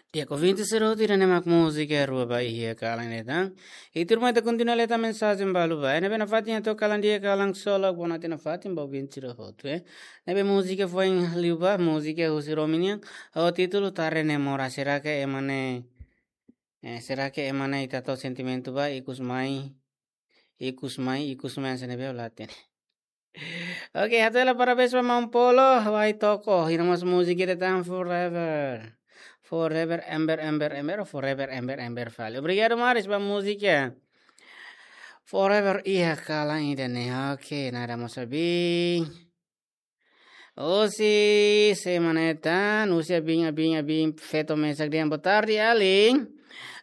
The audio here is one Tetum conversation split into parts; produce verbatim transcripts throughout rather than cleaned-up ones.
Di'ak, ouvinte sira hotu, ida-ne'e mak múzika Rua ba Iha Kalan ida tan. I tuirmai ita kontinua leta mensajen balu ba. Ne'ebé nafatin atu kalan di'ak, kalan ksolok, bonote nafatin ba ouvinte sira hotu, eh. Ne'ebé múzika foin liu ba, múzika husi Romi nian. Ho títulu Tare Ne'e Moras, será que ema ne'e, eh, será que ema ne'e ita to'o sentimentu ba, ikus mai, ikus mai, ikus mai, hanesan ne'ebé ha'u la hatene. Oke, hato'o hela parabéns ba maun Polo, Wai Toko, i nia mós múzika ida tan Forever. Forever, ember, ember, ember, forever, ember, ember fali. Obrigadu, Maris, ba múzika Forever Iha Kalan ida-ne'e. Oke, nada mós abin. Husi, sé mak ne'e tan, husi abin, abin, abin, feto mesak dehan. Boa tarde, alin.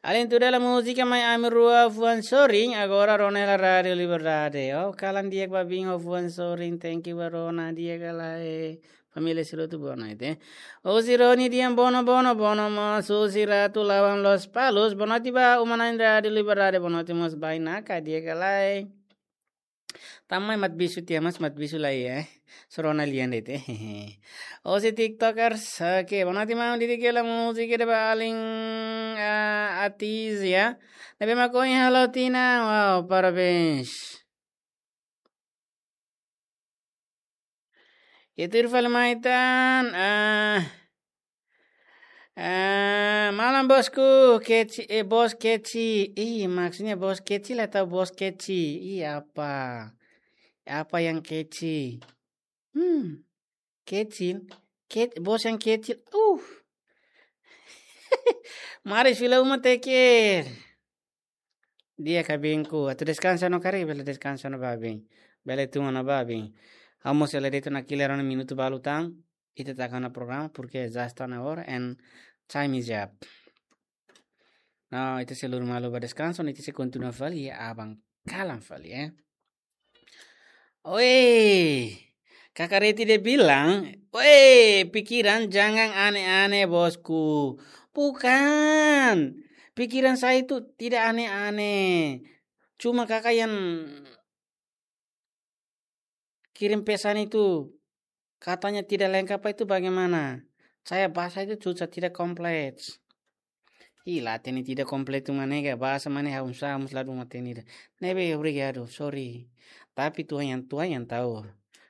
Alin, tuir hela múzika Mai Ami Rua Fuan Sorin, agora rona hela Rádiu Liberdade. Oh, kalan di'ak ba abin ho fuan sorin, thank you ba rona, di'ak ka lae. Família sira hotu boa noite. Husi Roni dehan bono, bono, bono mós, husi Ratu Lawan Lospalos, boa noite ba uma-na'in Rádiu Liberdade, boa noite mós bainaka, di'ak ka lae. Tanba Matt Bissu tiha, mas Matt Bissu la iha, eh. Só rona lian de'it. Husi TikTokers, oke, boa noite, maun, di'ak ka lae múzika ida ba alin, ah, Atizia. Ne'ebé mak ohin halo tinan, wow, parabéns. I tuir fali mai tan, ah, ah, malam bosku, keci-, eh, bos keci. Ih, maksudnya bos kecil atau bos keci? Ih, apa? Apa yang keci? Hmm, kecil. Ke-, bos yang kecil. Uh. Mari fila uma teker. Di'ak, abinku, atu deskansa ona karik, bele deskansa ona ba abin. Bele tun ona ba abin. Ha'u mós hela de'it ona kiler ona minutu balu tan, ita taka ona programa, porque já está na hora and time is up. Nah, ita sei lori malu ba deskansa, ita sei kontinua fali, aban kalan fali, eh. Oi, Kaka Reti dehan bilang, "Weh, pikiran jangan aneh-aneh, bosku." Bukan, pikiran saya itu tidak aneh-aneh. Cuma Kaka yang kirim pesan itu katanya tidak lengkap itu bagaimana? Saya bahasa itu susah, tidak kompleks. Ih, la hatene tidak komplit mak ne'e ka, bahasa mak ne'e ha'u sa, ha'u mós la dún hatene ida. Ne'ebé, obrigadu, sorry. Tapi Tuhan yang, Tuhan yang tahu.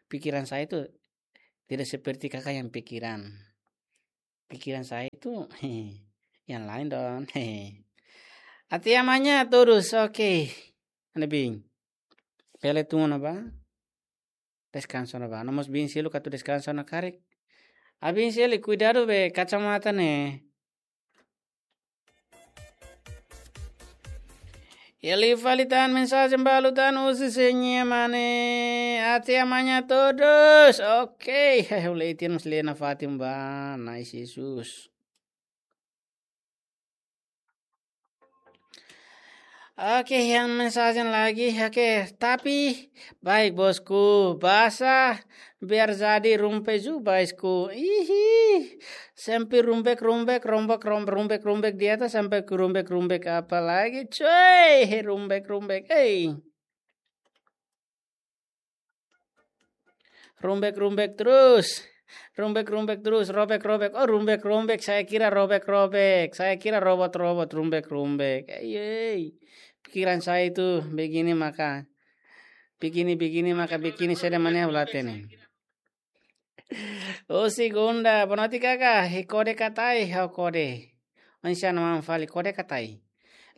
Pikiran saya itu tidak seperti Kakak yang pikiran. Pikiran saya itu, yang lain dong. Até amanhã todos, oke. Anda bin. Bele tun ona ba. Deskansa ona ba. No mós bin seluk atu deskansa ona karik. Abin seluk, kuidadu be kacamata ne'e. Iha liu fali tan mensajen balu tan husi Señia Mane. Até amanhã todos. Oke, hei, ha'u lee tiha mós lee nafatin ba. Nice, Jesus. Oke, yang mensajen lagi. Oke, tapi baik, bosku. Basah biar jadi rumpe ju, bosku. Ihi. Sempre rumbek, rumbek, rombok, rom-, rumbek, rumbek di atas sampai ke rumbek, rumbek apa lagi, coy? Rumbek, rumbek. Eh. Rumbek, rumbek terus. Rumbek, rumbek terus. Robek, robek. Oh, rumbek, rumbek. Saya kira robek, robek. Saya kira robot, robot. Rumbek, rumbek. Ei, ei. Pikiran saya itu begini maka. Begini, begini maka begini, saida mak ne'e ha'u la hatene. Oh, segunda. Boa noite, Kaka. He kode katai, ha'u kode. Oinsá mak fali kode katai.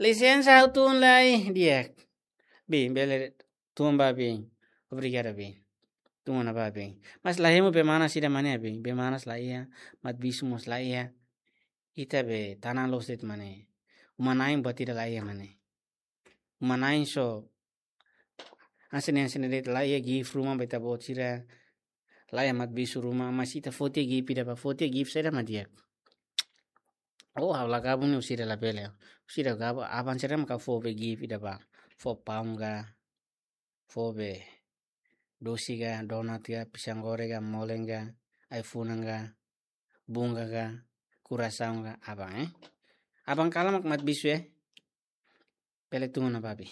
Lisensa, ha'u tun lai. Di'ak. Bin, bele tun ba bin. Obrigadu, bin. Tun ona ba bin. Mas la hemu be manas ida mak ne'e, bin. Be manas la iha, Matt Bissu mós la iha. Ita be tanan loos de'it mak ne'e. Uma-na'in buat ida la iha mak ne'e. Uma-na'in só hanesan ne'e, hanesan ne'e de'it, la iha gift ruma ba ita-boot sira. La iha Matt Bissu ruma, mas ita foti gift ida ba, foti gift saida mak di'ak. Oh, ha'u la gabung ne'e husi ida labele. Husi ida gabung, aban sira maka fó be gift ida ba. Fó paun ka, fó be dosi ka, donat ka, pisang goreng ka, molen ka, ai-funan ka, bunga ka, kurasaun ka, aban, eh. Aban kalan mak Matt Bissu, eh. Bele tun ona ba bin.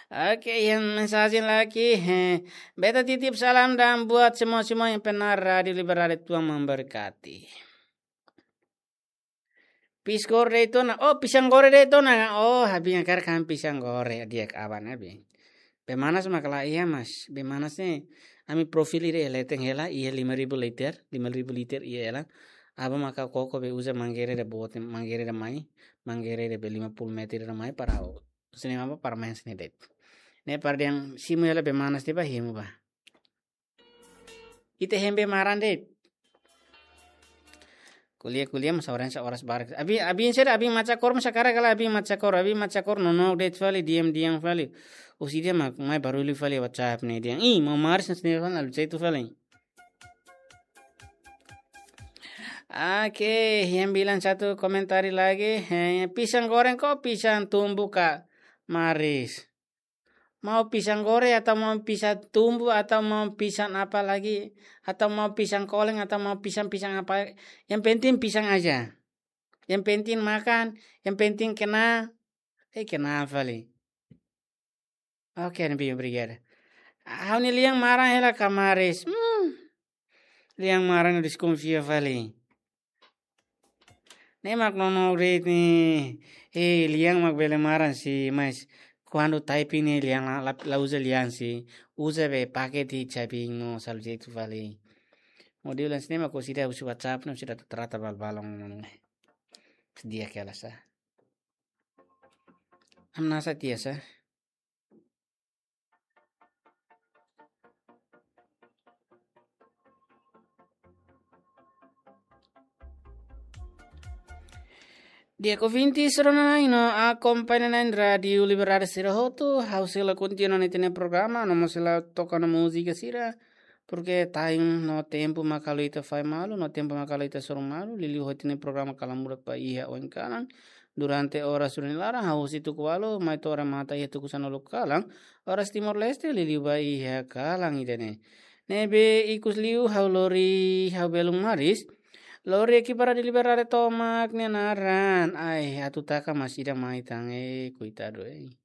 Oke, yang mensajen lagi, eh, beta titip salam dan buat semua-semua yang pendengar Rádiu Liberdade, Tuhan memberkati. Pisang goreng de'it ona. Oh, pisang goreng de'it ona. Oh, ha'u-nia karik kan pisang goreng. Di'ak, aban, aban. Bee manas mak la iha, mas. Bee manas ne'e, ami profil ida leten hela, iha lima ribu liter, lima ribu liter iha hela. Aban maka koko bee uza mangeira ida boot, mangeira ida mai, mangeira ida bee lima puluh meter ida mai para o. Sini apa para main sini de'it. Ne'e para dehan simu hela bee manas tiha ba hemu ba. Ita hemu bee maran de'it. Ko'alia, ko'alia, mas orang sa oras barak. Abi, abi sira, abi maca kor, mas sekarang kalau abi maca kor, abi maca kor, nonook de'it fali, diam, diam fali. Husi di'ak mak, mai barullu fali WhatsApp ne'e dehan. Ih, Maun Maris ne'e fali, lalu cai tu fali. Oke, yang bilang satu komentar lagi, eh, pisang goreng ka pisang tumbu, Kak Maris? Mau pisang goreng atau mau pisang tumbu atau mau pisang apa lagi, atau mau pisang koleng atau mau pisang-pisang apa, yang penting pisang aja. Yang penting makan, yang penting kena, eh, kena fali. Oke, ne'ebé, obrigada. Ha'u-nia lian maran hela, Kak Maris. Hmm. Lian maran deskonfia fali. Ne'e mak nonook de'it ne'e. Eh, lian mak bele maran sih, mas kuandu typing ne'e lian la, la, la uza lian sih. Uza bee pakete, typing no, salu jeitu fali. Modul ne'e mak ko sida husi WhatsApp no sida trata bal balong. Di'ak hela sa. Am nasa tiha sa. Di'ak ouvinte sira-ne'ebé akompaña na'in Rádiu Liberdade sira hotu, ha'u sei la kontinua ita-nia programa, no mós sei la toka ona múzika sira, porque time no tempu mak halo ita fahe malu, no tempu mak halo ita soru malu, liuliu ho ita-nia programa Kalan Murak ba iha oin kalan, durante oras rua nia laran, hahú husi tuku ualu, mai to'o remata iha tuku sanulu kalan, oras Timor-Leste, liuliu ba iha kalan ida-ne'e. Ne'ebé ikus liu ha'u lori, ha'u belun Maris, lori ekipa Rádiu Liberdade tomak nia naran. Ai, atu taka mas ida mai tan, eh, koitadu, eh.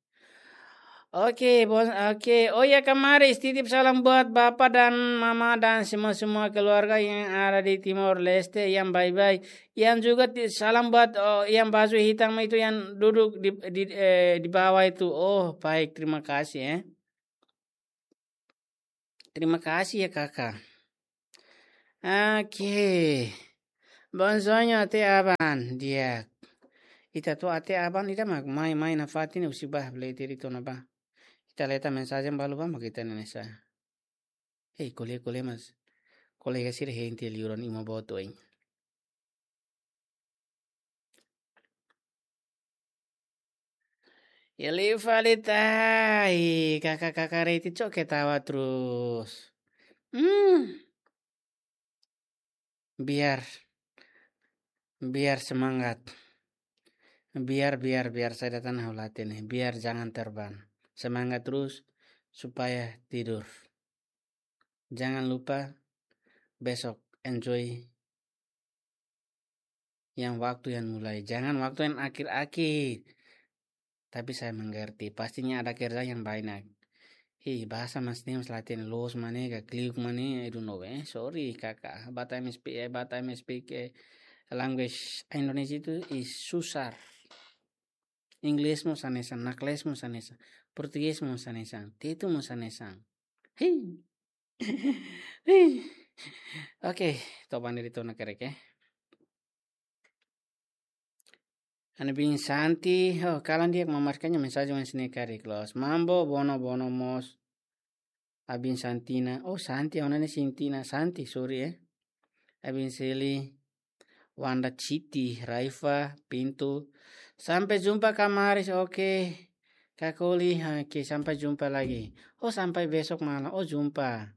Oke, bos, oke. Oh ya, Kak Maris, titip salam buat bapa dan mama dan semua-semua keluarga yang ada di Timor Leste yang baik-baik. Yang juga ti-, salam buat, oh, yang baju hitam itu yang duduk di, di, eh, di bawah itu. Oh, baik, terima kasih, ya. Terima kasih ya, Kakak. Oke. Bom sonho até aban, di'ak. Ita to'o até aban, ita mak mai, mai nafatin, husi ba, bele tiri tona ba. Ita leta mensajen balu ba, mak ita ne'e sa. Hei, ko'alia, ko'alia mas. Kolega sira hente liuran ima boto, hein. Ele fali tai, kakak-kakak reti cok ketawa terus. Hmm. Biar, biar semangat. Biar, biar, biar saya datang hau latihan nih. Biar jangan terbang. Semangat terus supaya tidur. Jangan lupa besok enjoy yang waktu yang mulai. Jangan waktu yang akhir-akhir. Tapi saya mengerti, pastinya ada kerja yang banyak. Ih, bahasa mas ne'e mas latihan loos mak ne'e, ka kliuk mak ne'e, I don't know, eh. Sorry, kakak. Batam speak, eh, Batam speak, eh, language Indonesia itu is susar. Inggris mós hanesan, nakles mós hanesan, Portugés mós hanesan, Tetun mós hanesan. Hei. Hei. Oke, toba ne'e de'it ona karik, eh. Ana bin Santi, oh, kalan di'ak, mamarkanya mensajen wan sini karik los. Mambo, Bono, Bono mós. Abin Santina. Oh, Santi, ha'u-nia Sintina. Santi, sorry, eh. Abin Seli, Wanda Citi, Raifa, Pintu. Sampai jumpa, Kak Maris. Oke. Kak Oli, oke, sampai jumpa lagi. Oh, sampai besok malam. Oh, jumpa.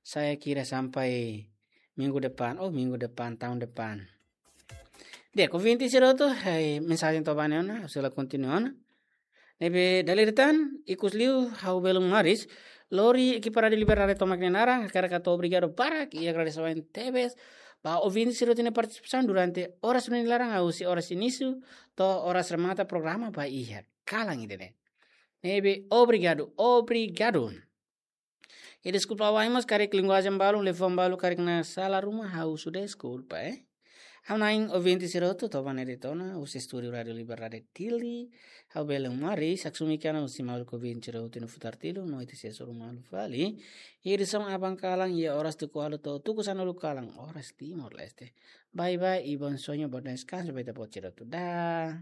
Saya kira sampai minggu depan. Oh, minggu depan, tahun depan. Di'ak, ouvinte sira hotu, eh, mensajen toba ne'e ona, ha'u sei la kontinua ona. Ne'ebé dala ida tan, ikus liu, ha'u belun Maris, lori ekipa Rádiu Liberdade tomak nia naran, hakarak hato'o obrigadu barak, i agradese tebes ba ouvinte sira hotu nia partisipasaun durante oras rua nia laran, husi oras inísiu to'o oras remata programa ba iha kalan ida-ne'e. Ne'ebé obrigadu, obrigadu. I deskulpa wa'in mós karik linguajen balu, liafuan balu karik na'in sala ruma, ha'u husu deskulpa, eh. Ha'u-nia ouvinte sira hotu, to'o ba ne'e de'it ona, husi estúdiu Rádiu Liberdade Dili, ha'u Belém Maris, haksolok ki'ik ona husi maluk ouvinte sira hotu iha Futar Tilu, no ita sei hasoru malu fali. Iha edisaun aban kalan, iha oras tuku ualu to'o tuku sanulu kalan, oras Timor-Leste. Bye bye, e bom sonho, bom descanso, ba ita-boot sira hotu. Dah.